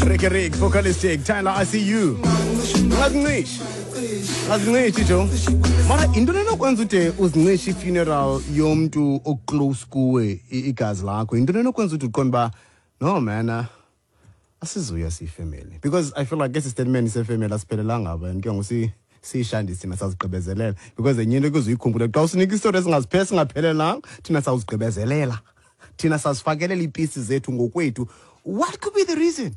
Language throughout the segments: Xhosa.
Ricky Rick, Focalistic, Tyler, I see you. Ungazincishi. Ungazincishi jo. Mara into enokwenza ude uzincishe i-funeral yomntu oclose kuwe igazi lakho. Into enokwenza ude uqonde uba no man, asizuya siyifamily. Because I feel like esi statement sefamily asiphelelanga apha and ke ngoku siyishandise thina sazigqibezelela. Because enye into ekuze uyikhumbule xa usinika isitori esingaphelelanga thina sawuzigqibezelela. Thina sazifakelela iipisi zethu ngokwethu. What could be the reason?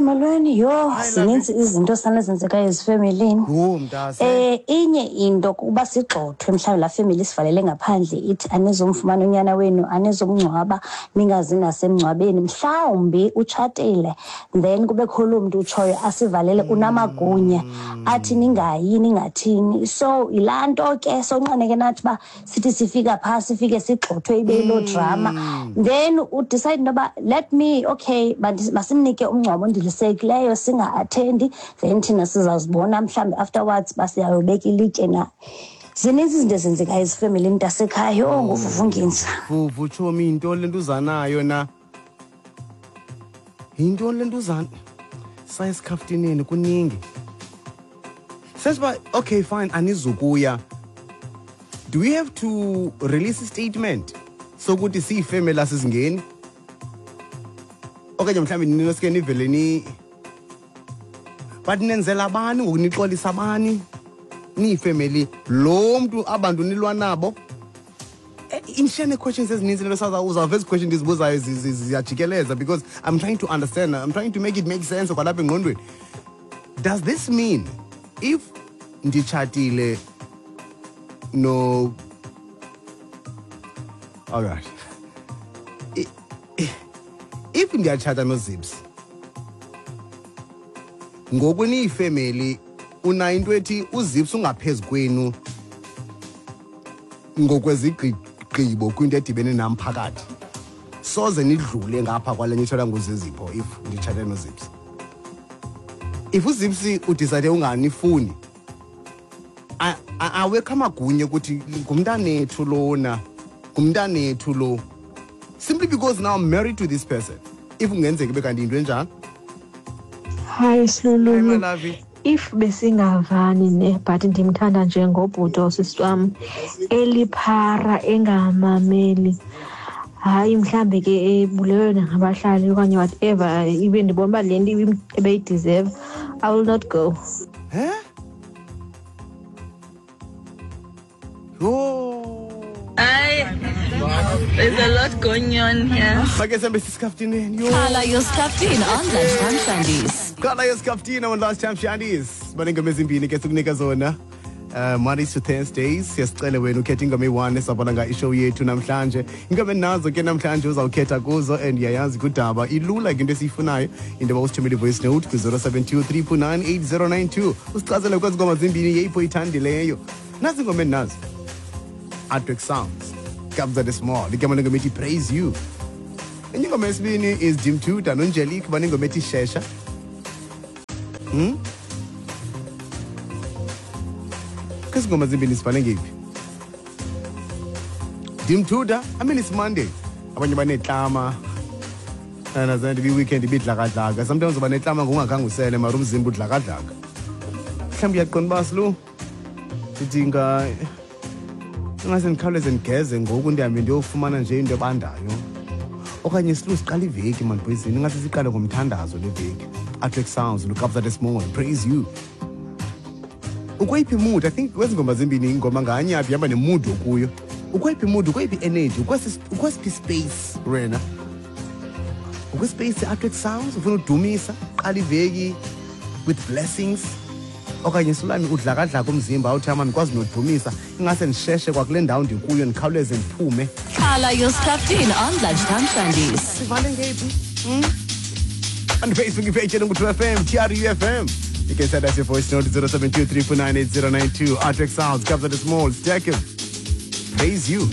Molweni, yho, zininzi izinto sana ezenzekayo ezifemelini. Yho, mntase. Inye into kuba sigxothwe mhlawumbi laa femeli isivalele ngaphandle ithi anizomfumana unyana wenu, anizomngcwaba, ningazi nasemngcwabeni. Mhlawumbi utshatile, then kubekho loo mntu utshoyo asivalele unamagunya athi ningayi, ningathini. So yilaa nto ke sonqane ke nathi uba sithi sifika phaa sifike sigxothwe ibe yiloo drama. Then udecide into yoba let me, okay, masimnike umngcwabo ondilisekileyo singa-attendi, then thina sizawuzibona mhlawumbi afterwards uba siyayobeka ilitye na. Zininzi izinto ezenzekayo ezifemelini mntasekhaya. Yho, nguVuvu Nginza. Vuvu, tshomi, yintoni le nto uza nayo na? Yintoni le nto uza? Saya esikhaftineni kuningi. Sesiba, okay, fine, anizukuya. Do we have to release a statement sokuthi siyifemeli asizingeni? Okanye mhlawumbi ninoske nivele ni, but nenzela bani ngoku, nixolisa bani? Niyifemeli lo mntu abantu nilwa nabo? Indishiyane questions ezininzi lento uzawuva ezi question ndizibuzayo ziyajikeleza because I'm trying to understand, I'm trying to make it make sense kwalapha engqondweni. Does this mean if nditshatile no, all right, if ndiyatshata noZips ngoku niyifemeli, unayo into ethi uZips ungaphezu kwenu ngokwezigqibo kwinto edibene nam phakathi, soze nidlule ngapha kwale nitshatha nguZizipho if nditshate noZips? If uZips udecide unganifuni, awekho amagunya ukuthi ngumntanethu lona, ngumntanethu lo, simply because now I'm married to this person. If kungenzeka ibe kanti yinto enjalo. Hi, Silulu. Hi, my lovey. If besingavani ne, but ndimthanda njengobhuti osisi wam, eliphara engamameli, hayi mhlambe ke ebulewe nangabahlali okanye whatever, ibe ndibona uba le nto ebeyideserve, I will not go. Huh? Yho. Hayi, there's a lot going on here. Make sihambe sisikaftineni. Yho. Qala yosikhaftini on Lunchtime Shandies. Qala yosikhaftini on Lunchtime Shandies. Banengoma ezimbini ke sikunika zona. Mondays to Thursdays siyasicela wena ukhethe ingoma eyi-1 esabona nga ishow yethu namhlanje. Ingoma enazo ke namhlanje uzawukhetha kuzo and uyayazi kudaba ilula ke into esiyifunayo into yoba usithumele i-voice note kwi-072 349 8092 usichazele kwezi ngoma zimbini yeyiphi oyithandileyo. Nazi ingoma endinazo. Artwork Sounds, Kabza De Small, igama lengoma ethi Praise You. Enye ingoma yesibini is Jim Tuta noNjelik banengoma ethi Shesha. Kwezi ngoma zimbini sifane ngeyiphi? Jim Tuta, I mean it's Monday. Abanye banetlama. Andazange ibi-weekend ibidlakadlaka. Sometimes uba netlama ngokungakhange usele mara umzimba udlakadlaka. Mhlawumbi uyaqonda uba silu ndidinga ingase ndikhawuleze ndigeze ngoku ndihambe ndiyofumana nje into ebandayo. Okanye silu siqala iveki man boyzini, ingase siqale ngomthandazo le veki. Artwork Sounds, look up that small, praise you. Ukweyiphi mood? I think kwezi ngoma zimbini ingoma nganye apha ihamba nemood okuyo. Ukweyiphi mood? Ukweyiphi energy? Ukwesiphi space wena? Ukwispace Artwork Sounds ufuna udumisa, qala iveki with blessings. Okanye sulami udlakadlaka umzimba awuthi ama ndikwazi nodumisa, ingase ndisheshe kwakule ndawo ndikuyo ndikhawuleze ndiphume. Qala yosikhaftini on Lunchtime Shandies. Sivale ngeyiphi? On Facebook page yenu True FM, TRU FM. You can send us your voice note 072 349 8092. Artwork Sounds, Kabza De Small, Stack Praise You.